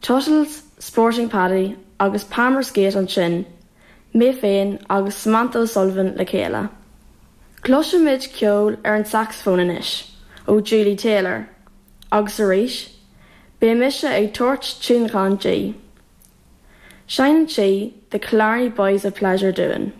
Tuttles, Sporting Paddy agus Palmer's Gate ansin, mé féin agus Samantha O'Sullivan le chéile. Cloisfimid ceol ar an sacsafón anois ó Julie Taylor, agus arís, beidh mise ag tabhairt tionlacan di. Seinneann sí The Killarney Boys of Pleasure dúinn.